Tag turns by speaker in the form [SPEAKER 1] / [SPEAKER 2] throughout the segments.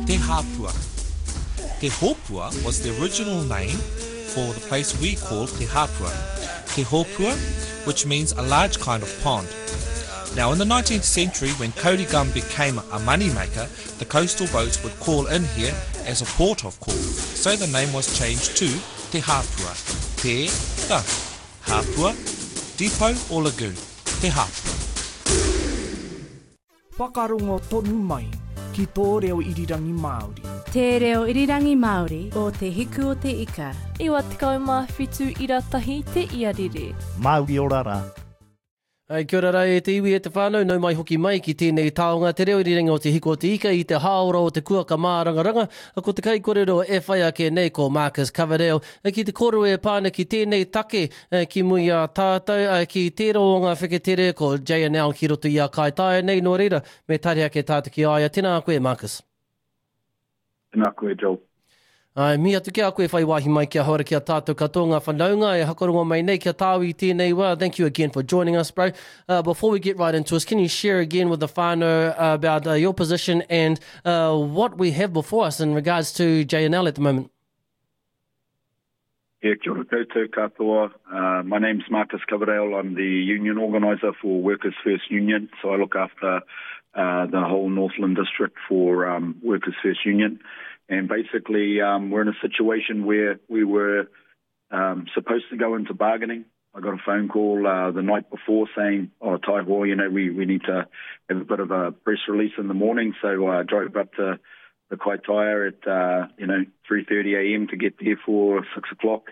[SPEAKER 1] Te Hāpua. Te Hōpua was the original name for the place we call Te Hāpua. Te Hōpua, which means a large kind of pond. Now, in the 19th century, when kauri gum became a moneymaker, the coastal boats would call in here as a port of call. So the name was changed to Te Hāpua. Te, the, Hāpua, depot or lagoon. Te Hāpua.
[SPEAKER 2] Whakarongo tonu mai ki tō reo irirangi Māori.
[SPEAKER 3] Te reo irirangi Māori o Te Hiku o Te Ika.
[SPEAKER 4] 97 ira tahi te iarere.
[SPEAKER 5] Mauri ora ra.
[SPEAKER 6] Ai, kia ora rā e te iwi e te whānau, nau mai hoki mai ki tēnei taonga, te reo irirangi o Te Hiko o Te Ika i te hāora o te kuaka mārangaranga. Ko te kaikorero e whai ake nei ko Marcus Coverdale. Ki te kōrero e pā ana ki tēnei take ki muri i a tātou, ki tērā o ngā wheketere ko JNL ki roto i a Kaitaia nei, nō reira, me tari ake tātou ki a ia. Tēnā koe, Marcus.
[SPEAKER 7] Tēnā koe, Joel.
[SPEAKER 6] Āe, mihi atu ki a koe whai wāhi mai ki ahau ara ki a tātou katoa ngā whanaunga e hakarongo mai nei ki a tāu i tēnei wā. Thank you again for joining us, bro. Uh, before we get right into us, can you share again with the whānau about uh, your position and uh, what we have before us in regards to JNL at the moment?
[SPEAKER 7] Yeah, kia ora koutou katoa. Uh, my name's Marcus Coverdale. I'm the union organiser for Workers First Union. So I look after uh, the whole Northland district for um, Workers First Union. And basically, um, we're in a situation where we were um, supposed to go into bargaining. I got a phone call uh, the night before saying, oh, Taiho, you know, we, we need to have a bit of a press release in the morning. So I drove up to the Kaitaia at, uh, you know, 3.30 a.m. to get there for 6 o'clock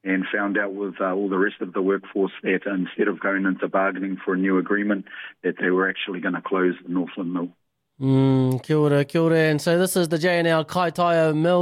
[SPEAKER 7] and found out with uh, all the rest of the workforce that instead of going into bargaining for a new agreement, that they were actually going to close the Northland Mill.
[SPEAKER 6] Mm, kia ora, kia ora. And so this is the JNL Kaitaia Mill.